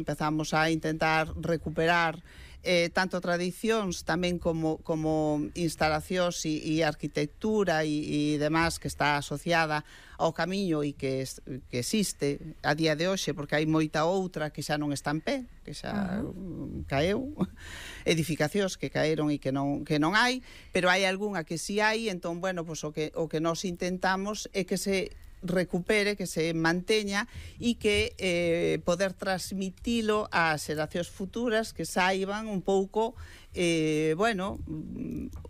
empezamos a intentar recuperar tanto tradicións tamén como instalacións e arquitectura e demás que está asociada ao camiño e que existe a día de hoxe, porque hai moita outra que xa non está en pé, que xa caeu, edificacións que caeron e que non hai, pero hai algunha que si hai. Entón, bueno, pues o que nos intentamos é que se recupere, que se manteña e que poder transmitilo ás xeracións futuras, que saiban un pouco bueno,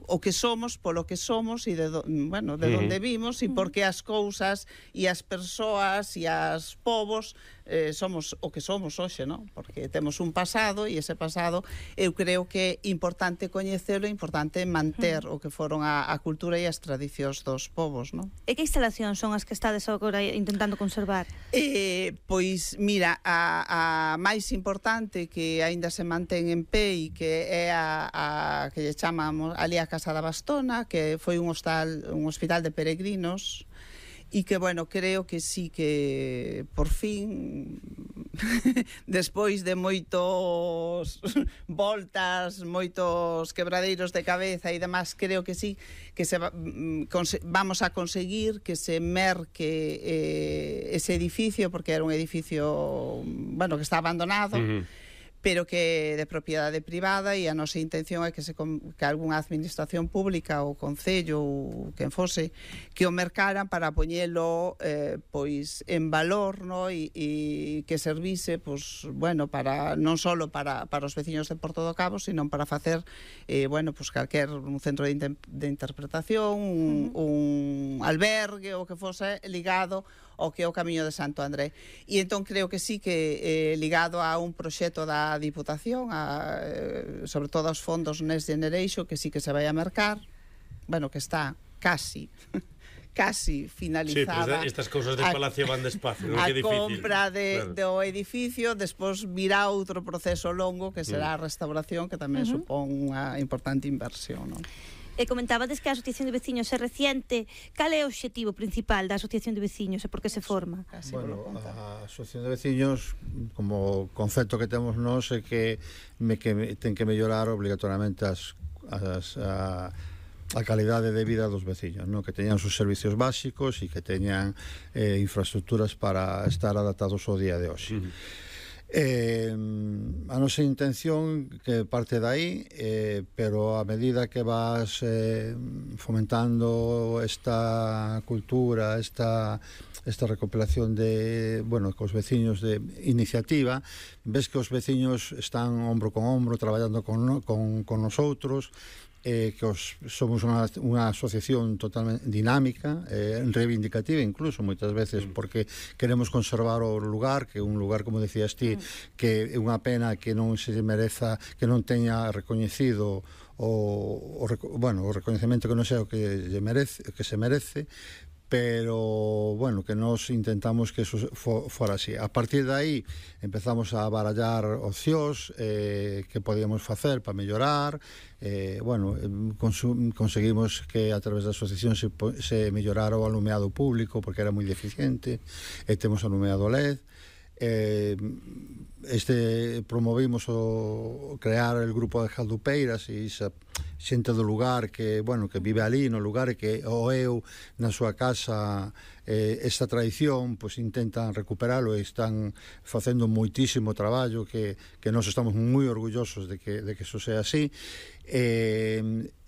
o que somos, polo que somos e de onde vimos e por que as cousas e as persoas e as povos somos o que somos hoxe, non? Porque temos un pasado e ese pasado eu creo que é importante coñecelo, é importante manter o que foron a cultura e as tradicións dos povos, non? E que instalacións son as que estades agora intentando conservar? Pois, mira, a máis importante que aínda se mantén en pé e que é a que lle chamamos ali a Casa da Bastona, que foi un hospital de peregrinos e que, bueno, creo que sí que por fin despois de moitos voltas, moitos quebradeiros de cabeza e demás, creo que sí que vamos a conseguir que se merque ese edificio, porque era un edificio, bueno, que está abandonado, pero que de propiedade privada, e a nosa intención é que algunha administración pública, o Concello ou quen fose, que o mercaran para poñelo pois en valor, no? E que servise, pois, bueno, para non só para os veciños de Porto do Cabo, sino para facer bueno, pois calquer un centro de interpretación, un albergue, o que fose ligado ao que é o Camiño de Santo André. E entón creo que sí que ligado a un proxecto da Diputación, sobre todo aos fondos Next Generation, que sí que se vai a mercar, bueno, que está casi finalizada. Sí, pero estas cousas de Palacio van despacio, non? A Que difícil. compra do edificio, despois virá outro proceso longo que será a restauración, que tamén supón unha importante inversión, non? E comentabades que a Asociación de Veciños é reciente. Cal é o obxectivo principal da Asociación de Veciños e por que se forma? Bueno, a Asociación de Veciños, como concepto que temos nós, é que ten que mellorar obligatoriamente a calidade de vida dos veciños, ¿no? Que teñan os servicios básicos e que teñan infraestructuras para estar adaptados ao día de hoxe. A nosa intención que parte dai, pero a medida que vas fomentando esta cultura, esta recopilación de, bueno, cos veciños de iniciativa, ves que os veciños están hombro con hombro traballando con nosotros, que somos unha asociación totalmente dinámica, reivindicativa incluso moitas veces, porque queremos conservar o lugar, que é un lugar, como decías ti, que é unha pena que non se mereza, que non teña recoñecido o recoñecemento que non sei o que se merece, pero, bueno, que nos intentamos que eso fora así. A partir de aí empezamos a barallar opcións que podíamos facer para mellorar. Bueno, conseguimos que a través da asociación se mellorara o alumeado público, porque era moi deficiente, e temos alumeado LED. Promovimos o crear el grupo de Jaldupeiras e esa xente do lugar que, bueno, que vive ali no lugar e que o eu na súa casa esta tradición, pois intentan recuperalo e están facendo moitísimo traballo que nós estamos moi orgullosos de que eso sea así.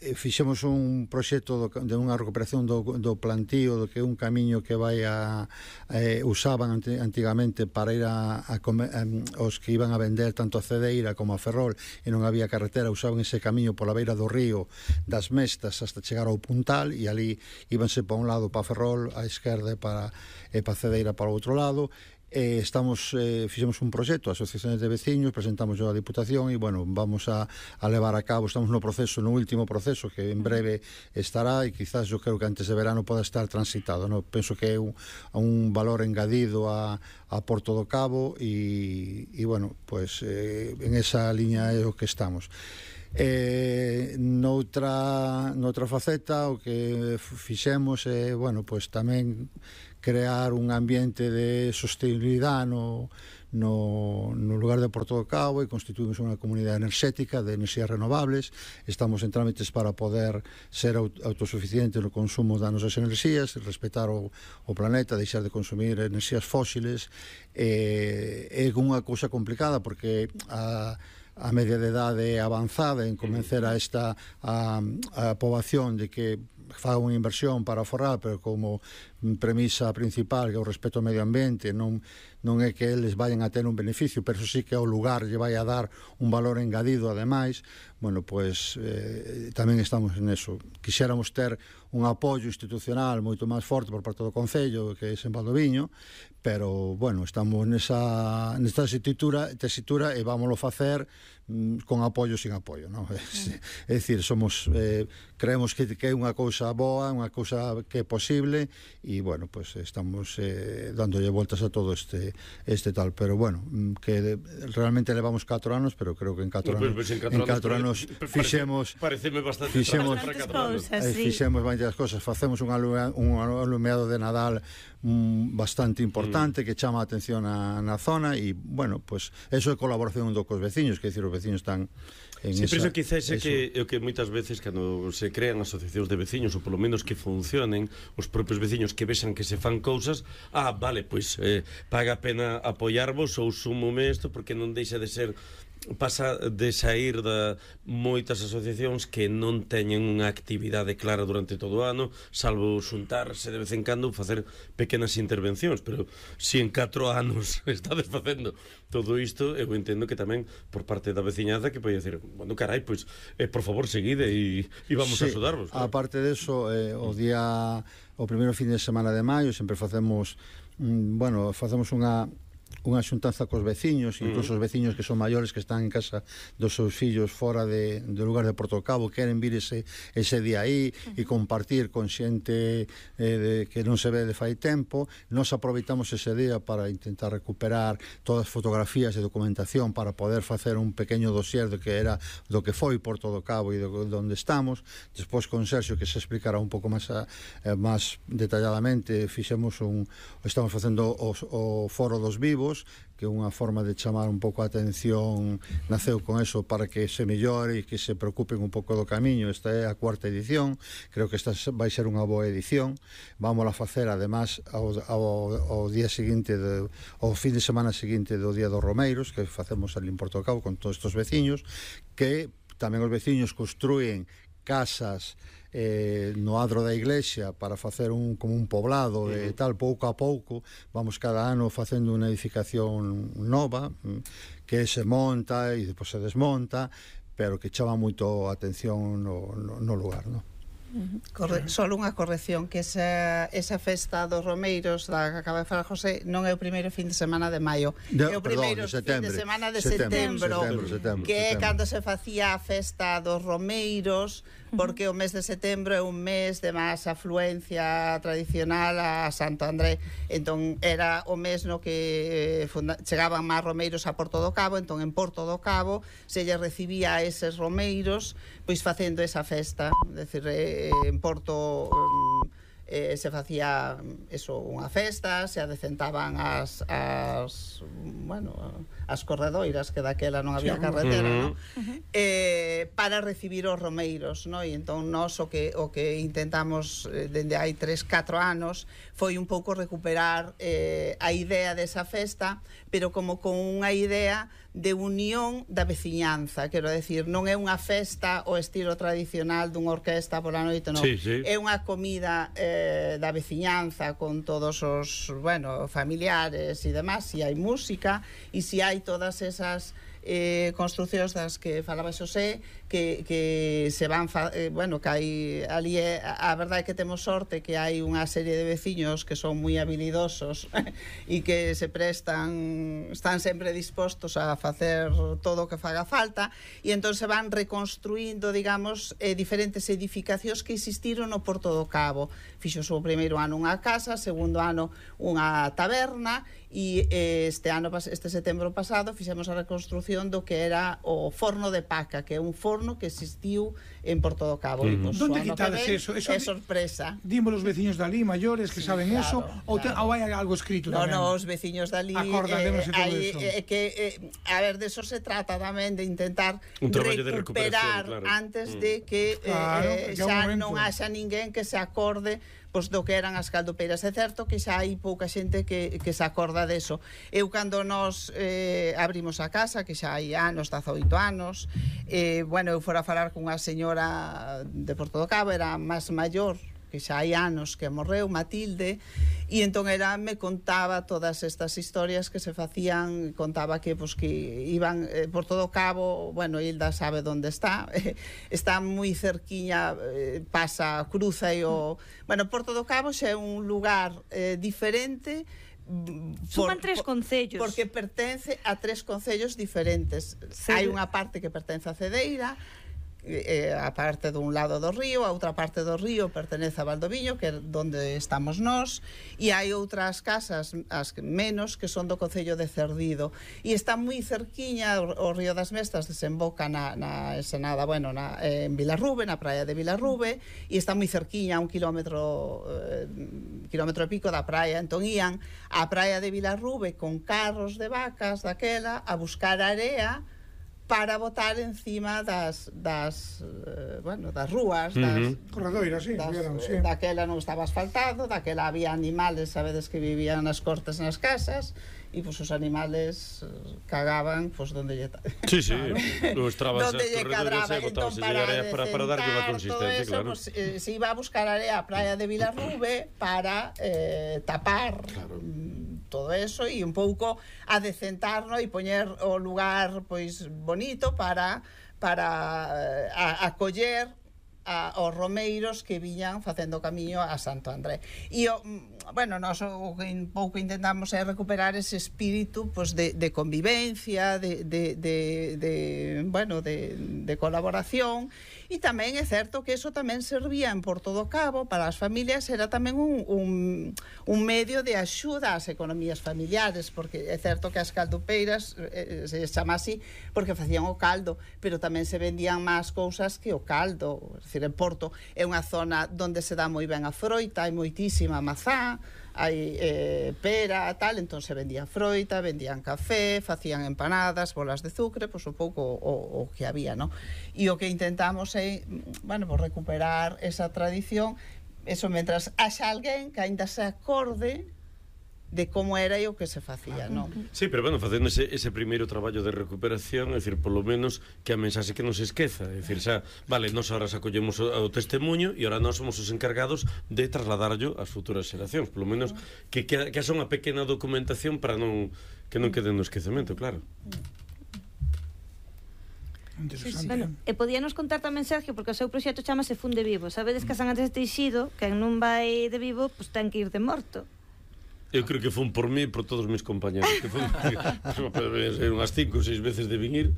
Fixemos un proxecto de unha recuperación do plantío, do que é un camiño que usaban antigamente para ir os que iban a vender tanto a Cedeira como a Ferrol e non había carretera, usaban ese camiño pola beira do río das Mestas hasta chegar ao Puntal, e ali íbanse para un lado para Ferrol, a esquerda e para Cedeira para o outro lado. Fixemos un proxecto, asociaciones de veciños, presentamos a Diputación e, bueno, vamos a levar a cabo, estamos no último proceso que en breve estará, e quizás eu creo que antes de verano poda estar transitado, no? Penso que é un valor engadido a Porto do Cabo e bueno, pues en esa liña é o que estamos. Noutra faceta o que fixemos é, bueno, pues tamén crear un ambiente de sostenibilidade no lugar de Porto do Cabo e constituímos unha comunidade enerxética de enerxías renovables. Estamos en trámites para poder ser autosuficiente no consumo das nosas enerxías, respetar o planeta, deixar de consumir enerxías fósiles. É unha cousa complicada porque a media de idade avanzada en convencer a poboación de que faga unha inversión para aforrar, pero como premisa principal que é o respeto ao medio ambiente, non é que eles vayan a ter un beneficio, pero sí que ao lugar lle vai a dar un valor engadido ademais. Bueno, pues tamén estamos en eso. Quixéramos ter un apoio institucional moito máis forte por parte do Concello, que é en Valdoviño, pero, bueno, estamos nesta tesitura e vámoslo facer con apoio sin apoio, non? É dicir, creemos que é unha cousa boa, unha cousa que é posible, e, bueno, pues estamos dándolle voltas a todo este tal, pero, bueno, que realmente levamos 4 anos, pero creo que en 4 anos fixemos varias cousas. Facemos un alumeado de Nadal bastante importante que chama a atención na zona, e, bueno, pues eso é colaboración cos veciños, que dicir, os veciños están en esa... Pero quizás é que moitas veces cando se crean asociacións de veciños, ou polo menos que funcionen, os propios veciños que vexan que se fan cousas, vale, pois paga a pena apoiarvos ou súmome isto, porque non deixa de ser... Pasa de sair de moitas asociacións que non teñen unha actividade clara durante todo o ano, salvo xuntarse de vez en cando, facer pequenas intervencións, pero se en 4 anos estades facendo todo isto, eu entendo que tamén por parte da veciñaza que pode decir, bueno, carai, pois, por favor, seguide e vamos a axudarvos. Claro. Aparte deso, o primeiro fin de semana de maio sempre facemos unha xuntanza cos veciños, incluso os veciños que son maiores, que están en casa dos seus fillos fora do lugar de Porto do Cabo, queren vir ese día aí e compartir con xente que non se ve de fai tempo. Nos aproveitamos ese día para intentar recuperar todas as fotografías e documentación para poder facer un pequeño dossier do que foi Porto do Cabo e de onde estamos. Despois con Sergio, que se explicará un pouco máis detalladamente, estamos facendo o Foro dos Vivos, que é unha forma de chamar un pouco a atención, naceu con eso para que se mellore e que se preocupen un pouco do camiño. Esta é a 4ª edición, creo que esta vai ser unha boa edición. Vamos a facer, además, ao día seguinte, ao fin de semana seguinte do Día dos Romeiros, que facemos ali en Porto do Cabo con todos estes veciños, que tamén os veciños construen casas no adro da iglesia para facer como un poblado e tal. Pouco a pouco vamos cada ano facendo unha edificación nova que se monta e depois se desmonta, pero que chama moito a atención no lugar, non? Solo unha corrección, que esa festa dos Romeiros da que acaba de falar José non é o primeiro fin de semana de maio, é o primeiro fin de semana de setembro, que é cando se facía a festa dos Romeiros, porque o mes de setembro é un mes de máis afluencia tradicional a Santo André. Entón era o mes no que chegaban máis romeiros a Porto do Cabo. Entón en Porto do Cabo se lle recibía a eses romeiros pois facendo esa festa. É dicir, en Porto se facía unha festa, se adecentaban as corredoiras, que daquela non había carretera, para recibir os romeiros, non? E entón nós o que intentamos dende hai 3-4 anos foi un pouco recuperar a idea desa festa, pero como con unha idea de unión da veciñanza, quero decir, non é unha festa o estilo tradicional dunha orquesta pola noite, non. É unha comida da veciñanza con todos os, familiares e demás, se hai música e se hai todas esas construcións das que falaba Xosé, que se van que hai ali, a verdade é que temos sorte que hai unha serie de veciños que son moi habilidosos e que se están sempre dispostos a facer todo o que faga falta, e entón se van reconstruindo, digamos, diferentes edificacións que existiron no Porto do Cabo. Fixos o primeiro ano unha casa, segundo ano unha taberna, e este setembro pasado fixemos a reconstrucción do que era o forno de Paca, que é un forno que existiu en Porto do Cabo. Donde quitades eso? É sorpresa. Dimos os veciños dali, maiores, que saben eso, ou hai algo escrito tamén? No, os veciños dali acordadémonos de todo eso. A ver, de eso se trata tamén, de intentar recuperar antes de que xa non haxa ninguén que se acorde pois do que eran as caldopeiras. É certo que xa hai pouca xente que se acorda deso. Eu, cando nos abrimos a casa, que xa hai anos, 18 anos, eu fora a falar cunha señora de Porto do Cabo, era máis maior, que xa hai anos que morreu, Matilde, e entón ela me contaba todas estas historias que se facían, contaba que iban por todo o Cabo, Hilda sabe onde está, está moi cerquiña, cruza e o... Porto do Cabo xa é un lugar diferente, suman 3 concellos, porque pertence a 3 concellos diferentes. Hai unha parte que pertence a Cedeira, a parte dun lado do río, a outra parte do río pertenece a Valdoviño, que é onde estamos nós, e hai outras casas, as menos, que son do concello de Cerdido, e está moi cerquiña. O río das Mestas desemboca na Ensenada, en Vilarrube, na praia de Vilarrube, e está moi cerquiña, a 1 kilómetro e pico da praia. Entón ían á praia de Vilarrube con carros de vacas daquela a buscar area para botar encima das rúas, das corredoiras, sí. Daquela non estaba asfaltado, daquela había animales, sabedes, que vivían nas cortes nas casas, e os animales cagaban donde lle donde lle cadraba. Entón, para darlle unha consistencia, claro, se iba a buscar area a praia de Vilarrube para tapar todo eso, e un pouco a decentarnos e poñer o lugar bonito para acoller aos romeiros que viñan facendo camiño a Santo André. E nós o que un pouco intentamos é recuperar ese espírito de convivencia, de colaboración. E tamén é certo que eso tamén servía en Porto do Cabo para as familias, era tamén un medio de axuda ás economías familiares, porque é certo que as caldopeiras se chama así porque facían o caldo, pero tamén se vendían máis cousas que o caldo. É dicir, en Porto é unha zona onde se dá moi ben a froita, hai moitísima mazá, hai pera, tal, entón se vendía froita, vendían café, facían empanadas, bolas de azucre, un pouco o que había, non? E o que intentamos é, recuperar esa tradición, eso, mentras haxa alguén que aínda se acorde de como era e o que se facía, non? Sí, pero facendo ese primeiro traballo de recuperación, é dicir, polo menos que a mensaxe que non se esqueza, é dicir, nos ahora acollemos o testemunho e ahora nós somos os encargados de trasladarlo ás futuras xeracións, polo menos que haxa unha pequena documentación para que non quede no esquecemento, claro. E podíanos contar tamén, Sergio, porque o seu proxecto chamase Fun de Vivo. Sabedes que a San Andrés de Teixido, quen non vai de vivo, ten que ir de morto. Eu creo que fun por mí e por todos os meus compañeros, que fun unhas 5 ou 6 veces de vir.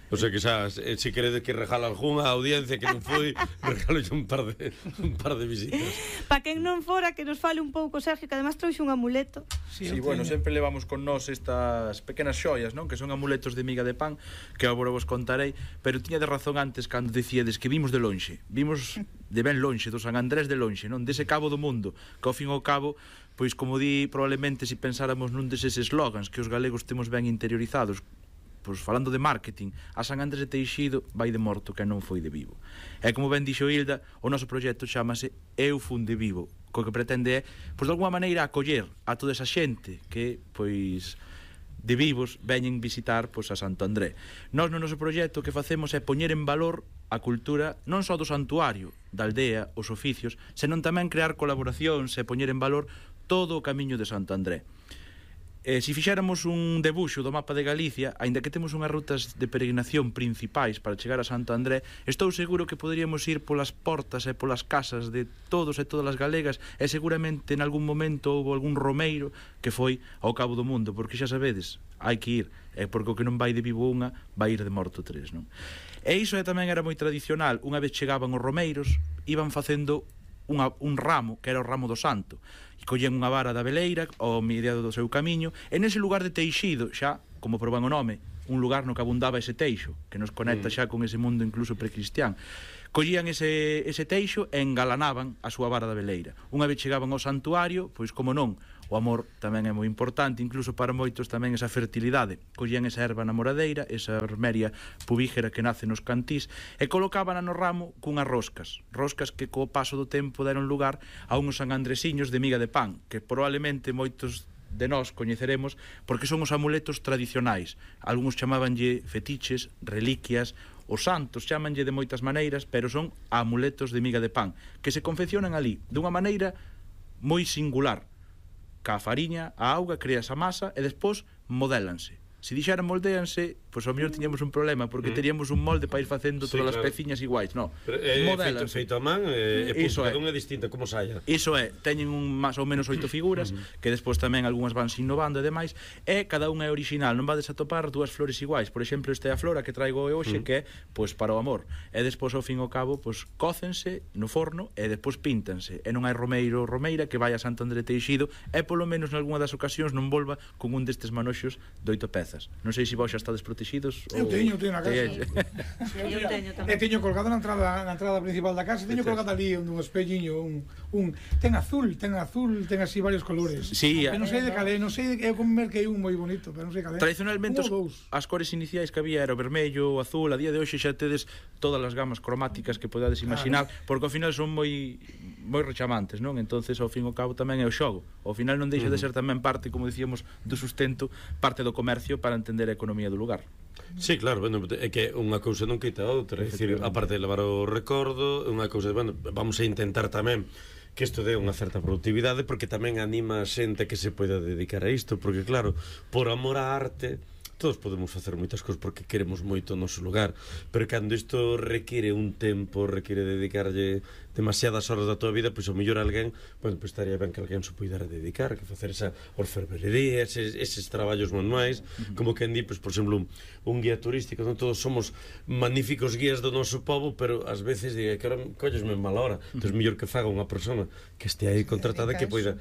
O sea que se queredes que regala algunha audiencia que non foi, regalo un par de visitas. Pa quen non fora, que nos fale un pouco, Sergio, que además trouxe un amuleto. Sí, sempre levamos con nós estas pequenas xoias, non? Que son amuletos de miga de pan, que agora vos contarei, pero tiña de razón antes cando dicíades que vimos de lonxe. Vimos de ben lonxe, do San Andrés de lonxe, non? Dese cabo do mundo, que ao fin e ao cabo, pois como di, probablemente se pensáramos nun deses eslogans que os galegos temos ben interiorizados, pois falando de marketing, a San Andrés de Teixido vai de morto que non foi de vivo. E como ben dixo Hilda, o noso proxecto chamase Eu Fun de Vivo, co que pretende é, pois de alguma maneira, acoller a toda esa xente que, pois, de vivos veñen visitar, pois, a Santo André. Nós no noso proxecto o que facemos é poñer en valor a cultura non só do santuario, da aldea, os oficios, senón tamén crear colaboracións e poñer en valor todo o camiño de Santo André. Se fixéramos un debuxo do mapa de Galicia, aínda que temos unhas rutas de peregrinación principais para chegar a Santo André, estou seguro que poderíamos ir polas portas e polas casas de todos e todas as galegas, e seguramente en algún momento houve algún romeiro que foi ao cabo do mundo, porque xa sabedes, hai que ir, porque o que non vai de vivo unha, vai ir de morto tres, non? E iso tamén era moi tradicional. Unha vez chegaban os romeiros, iban facendo un ramo, que era o ramo do santo, e collían unha vara da veleira ao mediado do seu camiño, e nese lugar de teixido, xa, como proban o nome, un lugar no que abundaba ese teixo, que nos conecta xa con ese mundo incluso precristián, collían ese teixo e engalanaban a súa vara da veleira. Unha vez chegaban ao santuario, pois como non, o amor tamén é moi importante, incluso para moitos tamén esa fertilidade. Collían esa erva namoradeira, esa vermeria pubígera que nace nos cantís, e colocábana no ramo cunhas roscas que co paso do tempo deron lugar a uns sanandresiños de miga de pan, que probablemente moitos de nós coñeceremos porque son os amuletos tradicionais. Algúns chamábanlle fetiches, reliquias, os santos chamanlle de moitas maneiras, pero son amuletos de miga de pan que se confeccionan ali dunha maneira moi singular. Ca fariña, a auga, creas a masa e despois modélanse. Se dixeran moldéanse, pois ao mellor tiñamos un problema porque teríamos un molde para ir facendo todas as peciñas iguais, no. Modélanse. Feito a man, cada unha é distinta, como saia. Iso é, teñen máis ou menos 8 figuras, que despois tamén algunhas van se innovando e demais, e cada unha é original, non vades a topar dúas flores iguais. Por exemplo, esta é a flora que traigo hoxe, que é, pois, para o amor. E despois, ao fin e ao cabo, pois, cócense no forno e despois píntanse. E non hai romeiro ou romeira que vai a Santo André Teixido e, polo menos, nalgúna das ocasións, non volva con un destes manoxos de 8 pezas. Non sei se vos xa estades protegidos. Eu teño na casa. Eu teño tamén. Teño colgado na entrada principal da casa, teño colgado ali un espelliño, ten azul, ten así varios colores. Sí, non sei de calé, non sei, eu como merquei un moi bonito, pero non sei calé. Tradicionalmente as cores iniciais que había era o vermello, o azul, a día de hoxe xa tedes todas as gamas cromáticas que podades imaginar, porque ao final son moi rechamantes, non? Entonces ao fin e ao cabo tamén é o xogo. Ao final non deixa de ser tamén parte, como dicíamos, do sustento, parte do comercio para entender a economía do lugar. Sí, claro, bueno, é que unha cousa non quita a outra, é dicir, aparte de levar o recordo, unha cousa, bueno, vamos a intentar tamén que isto dé unha certa productividade, porque tamén anima a xente que se poida dedicar a isto, porque claro, por amor á arte todos podemos facer moitas cousas porque queremos moito o noso lugar, pero cando isto require un tempo, require dedicarlle demasiadas horas da tua vida, pois ao mellor alguén, bueno, pois estaría ben que alguén se poidera dedicar, que facer esa orfebrería, eses traballos manuais, como quen di, pois, por exemplo, un guía turístico, non todos somos magníficos guías do noso pobo, pero ás veces diga que ahora collesme en mala hora, entón mellor que faga unha persona que este aí contratada que poida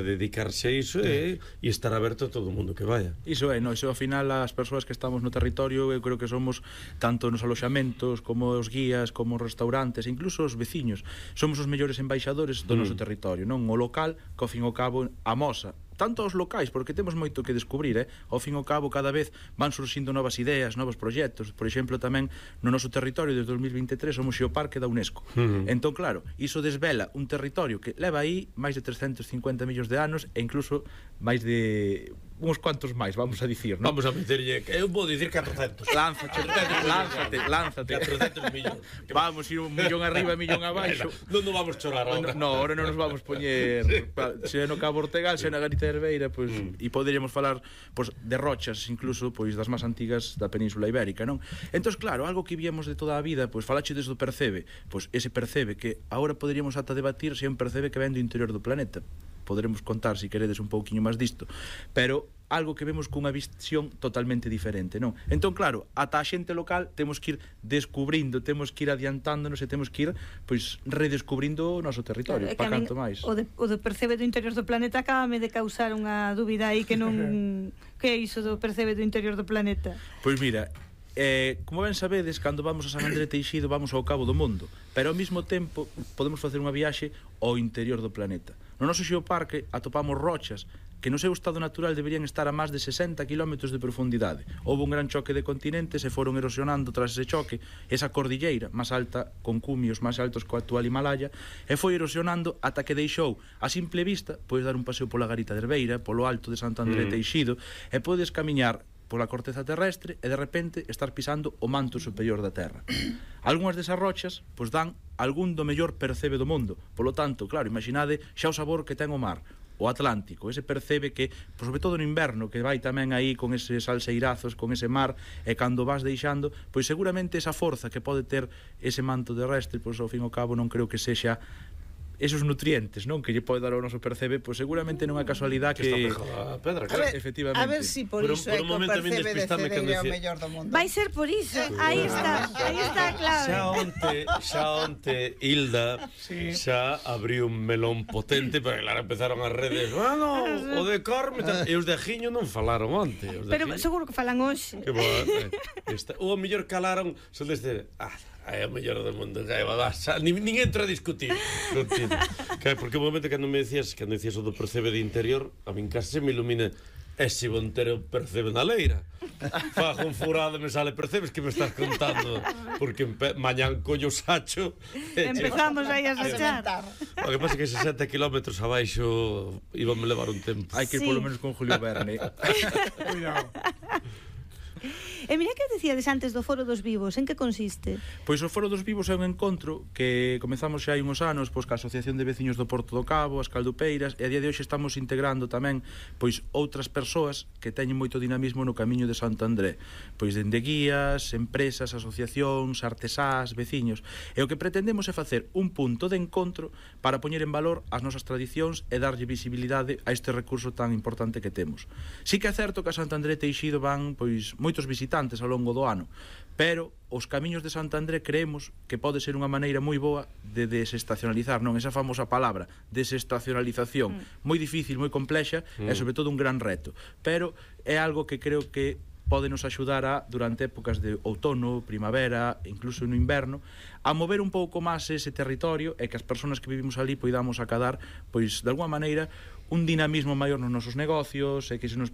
dedicarse a iso e estar aberto a todo o mundo que vaya. Iso é, no, iso ao final as persoas que estamos no territorio, eu creo que somos tanto nos aloxamentos como os guías, como os restaurantes, incluso os veciños. Somos os mellores embaixadores do noso territorio, non? O local, que ao fin e ao cabo amosa tanto os locais, porque temos moito que descubrir, ao fin e ao cabo cada vez van surxindo novas ideas, novos proxectos. Por exemplo, tamén no noso territorio desde 2023 somos xeoparque da UNESCO. Entón, claro, iso desvela un territorio que leva aí máis de 350 millóns de anos e incluso máis de uns cuantos máis, vamos a dicir, non? Vamos a meterlle, eu vou dicir 400. Lánzate. 400 millóns. Vamos ir un millón arriba e millón abaixo. Non nos vamos chorar agora. No, ahora non nos vamos poñer se no Cabo Ortegal, se na Garita de Herbeira, pois, e poderíamos falar pois, de rochas, incluso pois das máis antigas da Península Ibérica, non? Entón, claro, algo que víamos de toda a vida, pois falache desde o percebe, pois ese percebe que agora poderíamos ata debatir se é un percebe que ven do interior do planeta. Poderemos contar, se queredes, un pouquiño máis disto, pero algo que vemos cunha visión totalmente diferente, non? Entón, claro, ata a xente local temos que ir descubrindo, temos que ir adiantándonos e temos que ir, pois, redescubrindo o noso territorio, claro, para canto máis. O de percebe do interior do planeta acábame de causar unha dúbida aí que non... que é iso do percebe do interior do planeta? Pois mira, como ben sabedes, cando vamos a San André Teixido vamos ao cabo do mundo, pero ao mesmo tempo podemos facer unha viaxe ao interior do planeta. No noso xeoparque atopamos rochas que no seu estado natural deberían estar a máis de 60 km de profundidade. Houve un gran choque de continentes e foron erosionando tras ese choque esa cordilleira máis alta, con cumios máis altos que o actual Himalaya, e foi erosionando ata que deixou a simple vista, podes dar un paseo pola Garita de Herbeira, polo alto de Santo André Teixido, e podes camiñar pola corteza terrestre e de repente estar pisando o manto superior da Terra. Algúnas desas rochas pois dan algún do mellor percebe do mundo. Polo tanto, claro, imaginade xa o sabor que ten o mar, o Atlántico, ese percebe que, pois, sobre todo no inverno, que vai tamén aí con eses salseirazos, con ese mar, e cando vas deixando, pois seguramente esa forza que pode ter ese manto terrestre, pois ao fin e ao cabo non creo que sexa esos nutrientes, non, que lle pode dar ao noso percebe, pois seguramente non é casualidade que está pegada a pedra, claro. Efectivamente. A ver si por iso é que o percebe de Cedeira é o mellor do mundo. Vai ser por iso. Aí está a clave. Xa onte Hilda xa abriu un melón potente, pero claro, empezaron as redes, bueno, o de Corme, e os de Ajiño non falaron onte. Pero seguro que falan hoxe. Que bo, o mellor calaron, son deste, é o mellor do mundo, nin entro a discutir. Porque o momento cando me decías o do percebe de interior, a min case me ilumina. E se Montero percebe na leira, fago un furado e me sale percebes que me estás contando, porque mañán collo sacho empezamos aí a sachar. O que pasa é que 60 km abaixo íbame levar un tempo. Hai que ir polo menos con Julio Verne. Cuidado. E mira que decíades antes do Foro dos Vivos, en que consiste? Pois o Foro dos Vivos é un encontro que comezamos xa hai uns anos pois ca Asociación de Veciños do Porto do Cabo, as Caldupeiras, e a día de hoxe estamos integrando tamén pois outras persoas que teñen moito dinamismo no camiño de Santo André, pois dende guías, empresas, asociacións, artesás, veciños. E o que pretendemos é facer un punto de encontro para poñer en valor as nosas tradicións e darlle visibilidade a este recurso tan importante que temos. Si que é certo que a Santo André Teixido van pois moitos visitantes ao longo do ano, pero os camiños de Santo André creemos que pode ser unha maneira moi boa de desestacionalizar, non? Esa famosa palabra, desestacionalización, moi difícil, moi complexa e sobre todo un gran reto, pero é algo que creo que pode nos axudar a, durante épocas de outono, primavera, incluso no inverno, a mover un pouco máis ese territorio e que as persoas que vivimos ali poidamos acadar, pois, de alguma maneira, un dinamismo maior nos nosos negocios e que se nos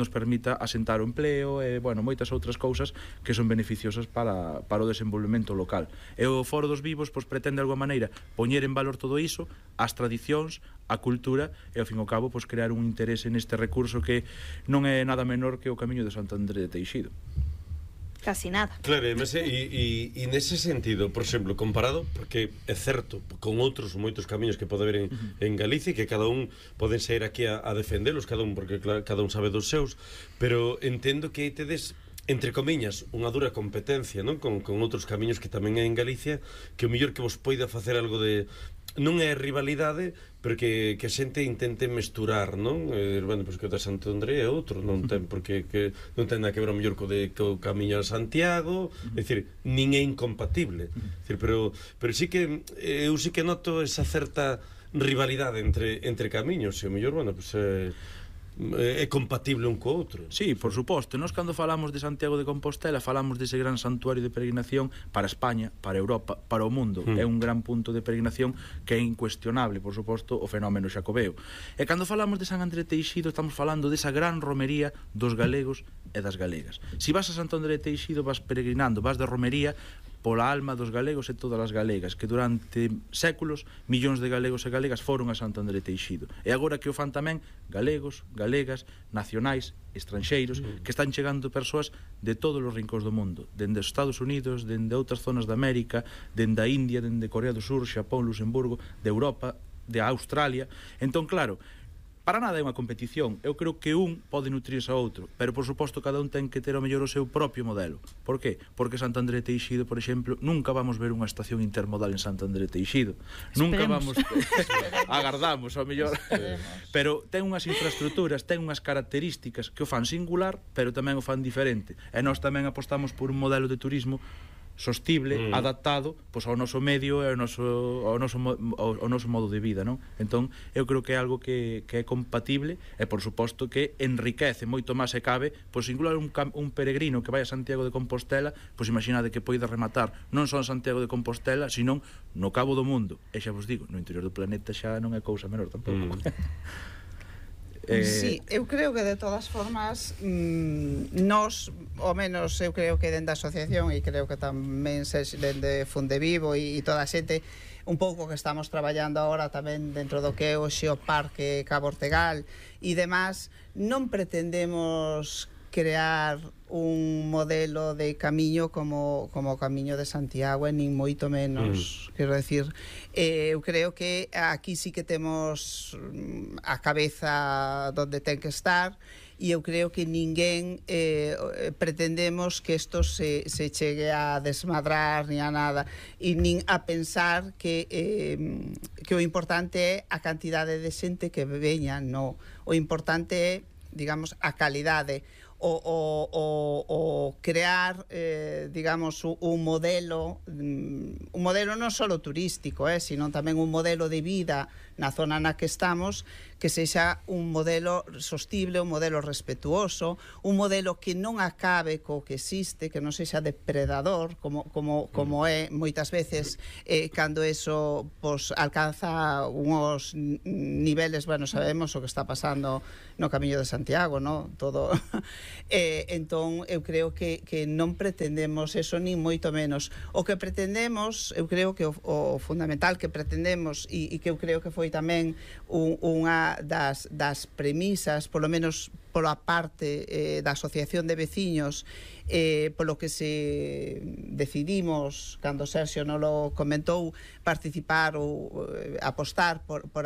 permita asentar o empleo e, bueno, moitas outras cousas que son beneficiosas para o desenvolvemento local. E o Foro dos Vivos, pois, pretende, de alguma maneira, poñer en valor todo iso, as tradicións, a cultura e, ao fin e ao cabo, pois, crear un interese neste recurso que non é nada menor que o Camiño de Santo André de Teixido. Casi nada. Claro, e nese sentido, por exemplo, comparado, porque é certo, con outros moitos camiños que pode haber en Galicia, que cada un poden sair aquí a defendelos, cada un, porque claro, cada un sabe dos seus, pero entendo que tedes, entre comiñas, unha dura competencia, non? Con outros camiños que tamén hai en Galicia, que o mellor que vos poida facer algo de... Non é rivalidade, pero que a xente intente mesturar, non? Bueno, pois que o de Santo André é outro, non ten porque que non ten nada que ver o mellor co camiño a Santiago, é dicir, nin é incompatible. É dicir, pero sí que eu sí que noto esa certa rivalidade entre camiños, e o mellor, bueno, pois é compatible un co outro. Sí, por suposto. Nós cando falamos de Santiago de Compostela falamos dese gran santuario de peregrinación para España, para Europa, para o mundo. É un gran punto de peregrinación que é incuestionable, por suposto, o fenómeno xacobeo. E cando falamos de San André Teixido estamos falando desa gran romería dos galegos e das galegas. Si vas a Santo André Teixido vas peregrinando, vas de romería pola alma dos galegos e todas as galegas, que durante séculos millóns de galegos e galegas foron a Santo André Teixido. E agora que o fan tamén galegos, galegas, nacionais, estranxeiros, que están chegando persoas de todos os rincóns do mundo, dende os Estados Unidos, dende outras zonas de América, dende a India, dende Corea do Sur, Xapón, Luxemburgo, de Europa, de Australia. Entón, claro, para nada é unha competición. Eu creo que un pode nutrirse a outro, pero por suposto cada un ten que ter ao mellor o seu propio modelo. Por qué? Porque Santo André Teixido, por exemplo, nunca vamos ver unha estación intermodal en Santo André Teixido. Nunca vamos agardamos ao mellor. Pero ten unhas infraestructuras, ten unhas características que o fan singular, pero tamén o fan diferente. E nós tamén apostamos por un modelo de turismo sostible, adaptado pois ao noso medio e ao noso modo de vida, non? Entón, eu creo que é algo que é compatible e, por suposto, que enriquece moito máis se cabe, pois singular un peregrino que vai a Santiago de Compostela, pois imaginade que poida rematar non só en Santiago de Compostela, senón no cabo do mundo. E xa vos digo, no interior do planeta xa non é cousa menor tampouco. Sí, eu creo que de todas formas nós, ao menos eu creo que dende a asociación e creo que tamén dende Fundevivo e toda a xente un pouco que estamos traballando agora tamén dentro do que é o Xeoparque Cabo Ortegal e demás, non pretendemos crear un modelo de camiño como o Camiño de Santiago, nin moito menos. Quero decir, eu creo que aquí sí que temos a cabeza donde ten que estar e eu creo que ninguén pretendemos que isto se chegue a desmadrar ni a nada, e nin a pensar que o importante é a cantidade de xente que veña, no. O importante é, digamos, a calidade, o crear, digamos, un modelo non só turístico, sino tamén un modelo de vida na zona na que estamos, que sexa un modelo sostible, un modelo respetuoso, un modelo que non acabe co que existe, que non sexa depredador, como é moitas veces cando eso alcanza unhos niveles, bueno, sabemos o que está pasando no Camiño de Santiago, no? Todo. Entón, eu creo que non pretendemos eso, nin moito menos. O que pretendemos, eu creo que o fundamental que pretendemos, e que eu creo que foi tamén unha das premisas, polo menos pola parte da Asociación de Veciños, polo que se decidimos, cando Sergio non lo comentou, participar ou apostar por